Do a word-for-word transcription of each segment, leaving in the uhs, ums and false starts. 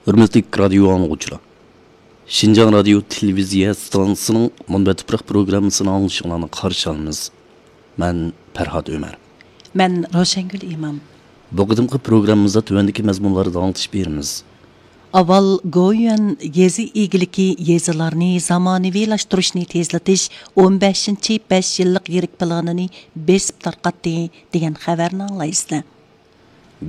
ھۆرمەتلىك رادىيو ئاڭلىغۇچىلار! شىنجاڭ رادىيو تېلېۋىزىيە ئىستانسىسىنىڭ مۇنبەت تۇپراق پروگراممىسىنى ئاڭلىشىڭلارنى قارشى ئالىمىز. مەن پەرھات ئۆمەر. مەن روشەنگۈل ئىمام. بۇ قېتىمقى پروگراممىمىزدا تۆۋەندىكى مەزمۇنلاردا ئاڭلىتىش بېرىمىز. ئاۋۋال گويۈەن يېزا ئىگىلىكى يېزىلارنى زامانىۋىلاشتۇرۇشنى تېزلىتىش ئون بەشىنچى بەش يىللىق يىرىك پىلانىنى بېسىپ تارقاتتى دېگەن خەۋەرنى ئاڭلايسىلەر.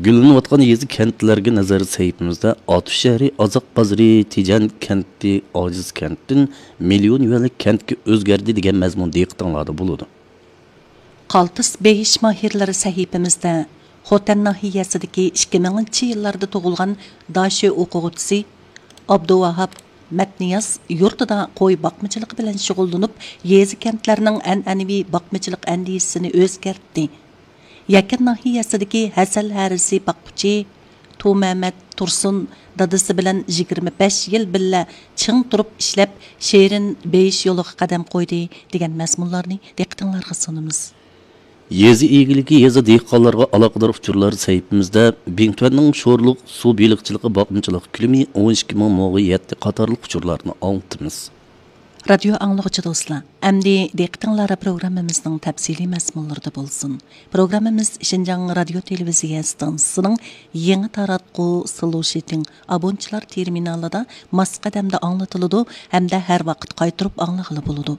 گۈللىنىۋاتقان يېزا، كەنتلەرگە نەزەر سەھىپىمىزدە ئاتۇش شەھىرى ئازاق بازىرى تېجەن كەنتى ئاجىز كەنتتىن مىليون يۈەنلىك كەنتكە ئۆزگەردى دېگەن مەزمۇن دىققىتىڭلاردا بولىدۇ. قالتىس بېيىش ماھىرلىرى سەھىپىمىزدە خوتەن ناھىيەسىدىكى ئىككى مىڭىنچى يىللاردا تۇغۇلغان داشۆ ئوقۇغۇچىسى ئابدۇۋاھاپ مەتنىياز يۇرتىدا قوي باقمىچىلىقى بىلەن شۇغۇللىنىپ، يېزا، كەنتلەرنىڭ ئەنئەنىۋى باقمىچىلىق ئەندىزىسىنى ئۆزگەرتتى. يەكەن ناھىيەسىدىكى ھەسەل ھەرىسى باققۇچى تۇمەمەت تۇرسۇن دادىسى بىلەن يىگىرمە بەش يىل بىللە چىڭ تۇرۇپ ئىشلەپ، شېرىن بېيىش يولىغا قەدەم قويدى دېگەن مەزمۇنلارنى دىققىتىڭلارغا سۇنىمىز. يېزا ئىگىلىكى يېزا، دېھقانلارغا ئالاقىدار ئۇچۇرلار سەھىپىمىزدە بىڭتۈەننىڭ شورلۇق سۇ بېلىقچىلىقى باقمىچىلىق كۆلىمى ئون ئىككى مىڭ موغا يەتتى قاتارلىق ئۇچۇرلارنى ئاڭلىتىمىز. رادىيو ئاڭلىغۇچى دوستلار، ئەمدى دىققىتىڭلار پروگراممىمىزنىڭ تەپسىلىي مەزمۇنلىرىدا بولسۇن. پروگراممىمىز شىنجاڭ رادىيو تېلېۋىزىيە ئىستانسىسىنىڭ يېڭى تاراتقۇ سلوشىتىڭ ئابونچىلار تېرمىنالىدا ماس قەدەمدە ئاڭلىتىلىدۇ ھەمدە ھەر ۋاقىت قايتۇرۇپ ئاڭلىغىلى بولىدۇ.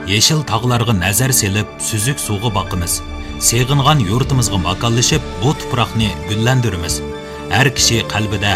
يېشىل تاغلارغا نەزەر سېلىپ، سۈزۈك سۇغا باقىمىز. سېغىنغان يۇرتىمىزغا ماكانلىشىپ، بۇ تۇپراقنى گۈللەندۈرىمىز. ھەر كىشى قەلبىدە